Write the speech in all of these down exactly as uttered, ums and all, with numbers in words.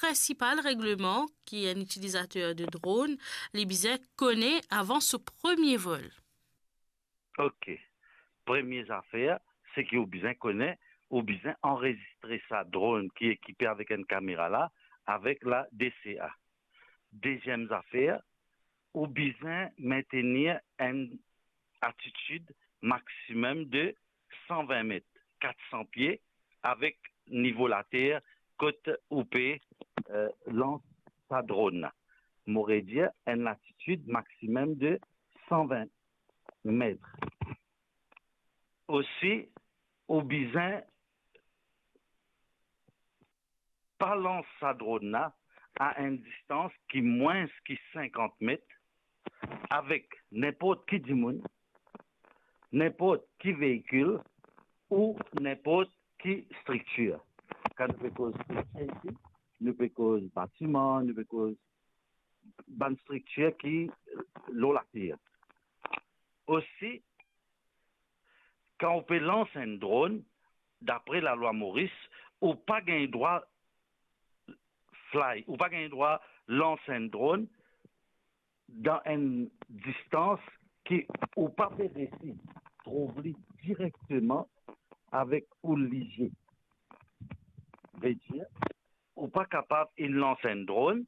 prinsipal regleman ki enn itilizater de dronn li bizin kone avan so premie vol? Ok. Premie zafer, seki ou bizin kone, ou bizin anrezistre sa dronn ki ekipe avek enn kamera la, avek la D C A. Deziem zafer, ou bizin mentenir enn altitid maximum de san vin met, kat san pie, avek nivo later kot ou pe, eh, lans sa dronn la. Mo redir, enn latitid maximum de san vin met. Osi, ou bizin pa lans sa dronn la a enn distans ki mwins ki sinkant met avek ninport ki dimoun, ninport ki veikil ou ninport ki striktir. Kan nou pe koz striktir isi, nou pe koz batiman, nou pe koz bann striktir ki lor later. Osi, kan ou pe lans enn dronn, dapre lalwa Moris, ou pa gagn drwa fly, ou pa gagn drwa lans enn dronn dan enn distans ki ou pa pe resi trouv li direkteman avek ou lizie. Vedir, ou pa kapav inn lans enn dronn,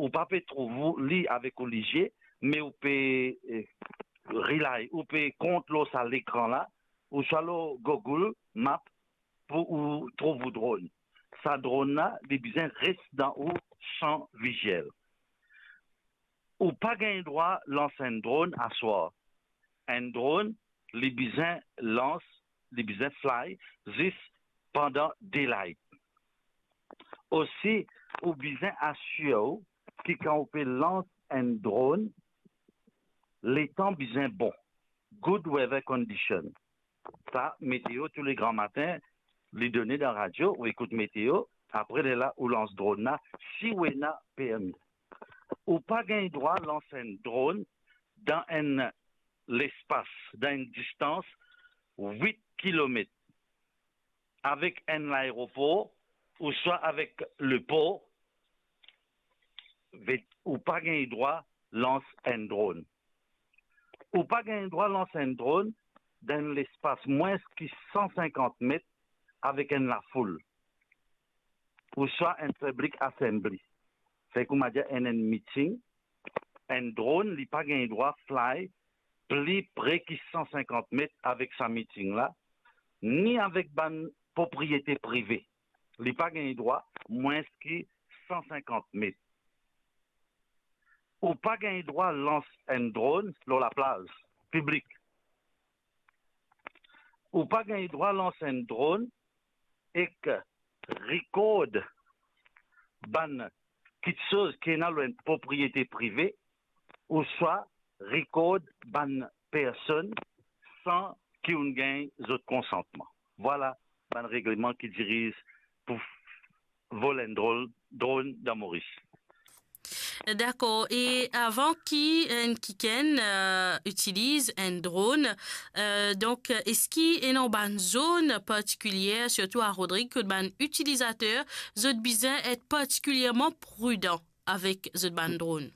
ou pa pe trouv li avek ou lizie, me ou pe, eh, rely, ou pe kont lor sa lekran la, ouswa lor Google Map pou ou trouv ou dronn. Sa dronn la, li bizin res dan ou san viziel. Ou pa gagn drwa lans enn dronn aswar. Enn dronn, li bizin lans, li bizin fly zis pandan daylight. Osi, ou bizin asir ou ki kan ou pe lans enn dronn, letan bizin bon. Good weather condition. Sa, meteo tou le gran matin, li done dan radio, ou ekout meteo, apre lerla ou lans dronn la, si ou ena permi. Ou pa gagn drwa lans enn dronn dan enn lespas, dan enn distans wit kilomet avek enn laeropor ouswa avek lepor, ve-, ou pa gagn drwa lans enn dronn. Ou pa gagn drwa lans enn dronn dan enn lespas mwins ki san sinkant met avek enn lafoul, ouswa enn public assembly. Fer kouma dir enn, enn meeting, enn dronn, li pa gagn drwa fly pli pre ki san sinkant met avek sa meeting la, ni avek bann propriete prive. Li pa gagn drwa mwins ki san sinkant met. Ou pa gagn drwa lans enn dronn lor laplaz piblik. Ou pa gagn drwa lans enn dronn ek rikord bann kitsoz ki ena lor enn propriete prive, ouswa rikord bann personn san ki ou'nn gagn zot konsantman. Vwala bann regleman ki diriz pou vol enn dronn, dronn dan Moris. Dakor. E avan ki enn kikenn, eh, itiliz enn dronn, eh, donk, eski ena bann zone partikilie, sirtou a Rodrig, kot bann itilizater, zot bizin et partikilierman pridan avek zot bann dronn?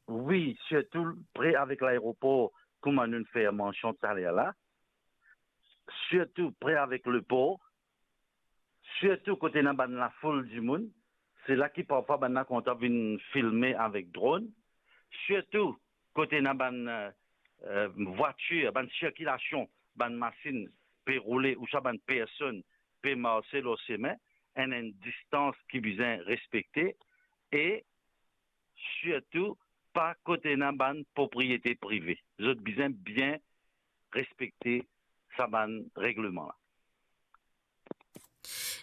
Wi, sirtou pre avek laeropor, kouma nou fer mansion taler la, sirtou pre avek lepor, sirtou kot ena bann lafoul dimoun, se la ki parfwa bann la kontan vinn filme avek dronn, sirtou kot ena bann, eh, eh, vwatir, bann sirkilasion, bann masinn pe roule, ouswa bann personn pe marse lor sime, ena enn distans ki bizin respekte, e sirtou pa kot ena bann propriete prive. Zot bizin bien respekte sa bann regleman la.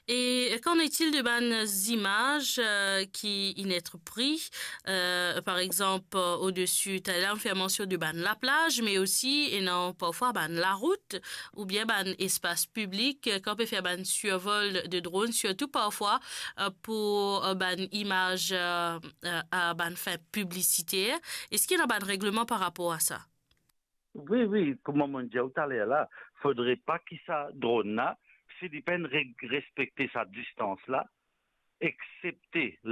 E qu'en est-il de bann zimaz, eh, ki inn et pri, eh, par exanp, eh, odesi, taler nou fer mansion de bann laplaz, me osi ena parfwa bann larout, oubien bann espas piblik, eh, kan pe fer bann sirvol de dronn, sirtou parfwa, eh, pou, eh, bann imaz, eh, eh, a bann fin piblisiter. Eski ena bann regleman par rapor a sa? Wi, wi, kouma mo dir ou taler la, fodre pa ki sa dronn la, si li pa'nn re-, respekte sa distans la, eksepte